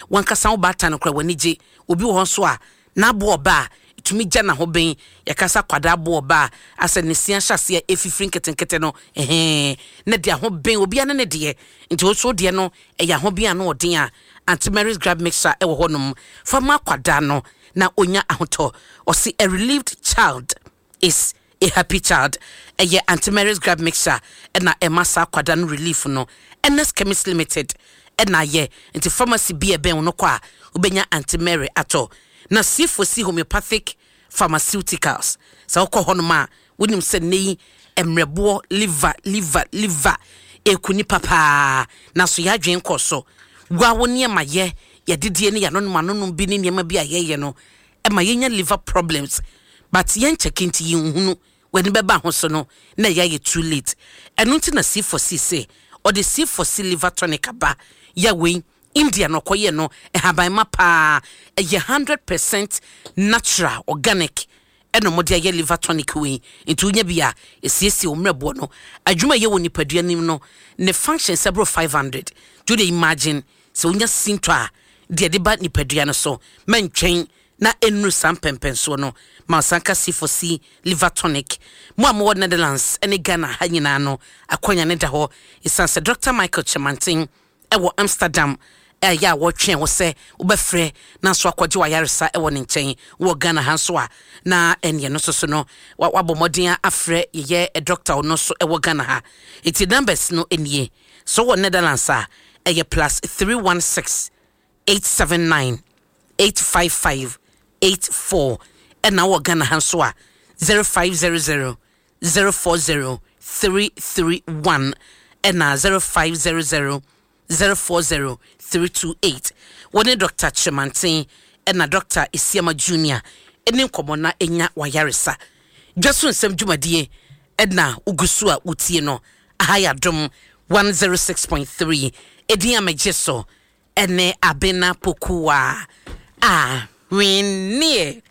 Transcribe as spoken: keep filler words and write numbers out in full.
Wankasa wo baatan no koraa w'ani gye. Obi wɔ hɔ nso a n'aboɔ ɔba a ɛtumi gya n'ahoben. Yɛkasa kwadaa aboɔ ɔba a asɛ ne si ahyɛ aseɛ ɛfifiri nketenkete no, ɛhɛn na de ahoben obiara ne ne deɛ. Nti wo nso deɛ no ɛyɛ ahoben a no ɔden a, Aunty Mary's Gripe Mixture ɛwɔ hɔnom fa ma akwadaa no na onya ahotɔ. Ɔsi, "A relieved child is a happy child." Ɛyɛ Aunty Mary's Gripe Mixture ɛna ɛma saa akwadaa no relief no. Ernest Chemist Limited ɛna ayɛ, nti pharmacy bi ɛbɛn wo no kɔ a, wobɛnya Aunty Mary atɔ. Na C four C Homeopathic Pharmaceuticals, sɛ wokɔ hɔnom a, wonim sɛ nnɛ yi mmerɛboɔ, liver, liver, liver ɛku nipa paa, nanso yɛadwen kɔ so wa wo nneɛma yɛ yɛdedie ne yɛanonom anonom bi ne nneɛma bi a yɛyɛ no ɛma yɛnya liver problems, but yɛnkyɛke nti yɛnhunu. W'ani bɛba ho so no na ɛyɛ ayɛ too late. Ɛno nti na C four C sɛ ɔde C four C liver tonic aba. Yɛ wei India na ɔkɔyɛ no, ɛhaban paa, ɛyɛ hundred percent natural organic ɛna ɔmode ayɛ liver tonic wei. Nti wonya bi a, ɛsiesie wo mmerɛboɔ no adwuma yɛ wɔ nipadua nim no ne function sɛ boro five hundred. Nti wode imagine sɛ wonya sinto a deɛ de ba nipadua no so, mɛntwɛn na ɛnnuru saa mpɛmpɛnsoɔ no ma ɔsan ka C four C liver tonic. Mo a mowɔ Netherlands ne Ghana ha nyinaa no, akwanya ne da hɔ ɛsiane sɛ Doctor Michael Kyerematen ɛwɔ Amsterdam ɛyɛ a wɔtwɛn wo sɛ wobɛfrɛ na nso akɔgye wayaresa ɛwɔ ne nkyɛn. Wɔ Ghana ha nso a, na ɛneɛ no nso so no wabɔ mmɔden afrɛ yɛyɛ doctor ɔno nso ɛwɔ Ghana ha. Nti numbers no nie: so wɔ Netherlands a, ɛyɛ plus three one six eight seven nine eight five five eight four, ɛna wɔ Ghana ha nso a, zero five zero zero zero four zero three three one ɛna zero five zero zero zero four zero three two eight. Wɔne Doctor Kyerematen ɛna Doctor Esiama Junior ɛne nkɔmmɔ na ɛnya wayaresa. Dwa so nsɛm dwumadie ɛna wogu so a wotie no. Aha yɛ Adom one oh six point three. Ɛdin a megye so ɛne Abena Pokuwa a hwenneɛ.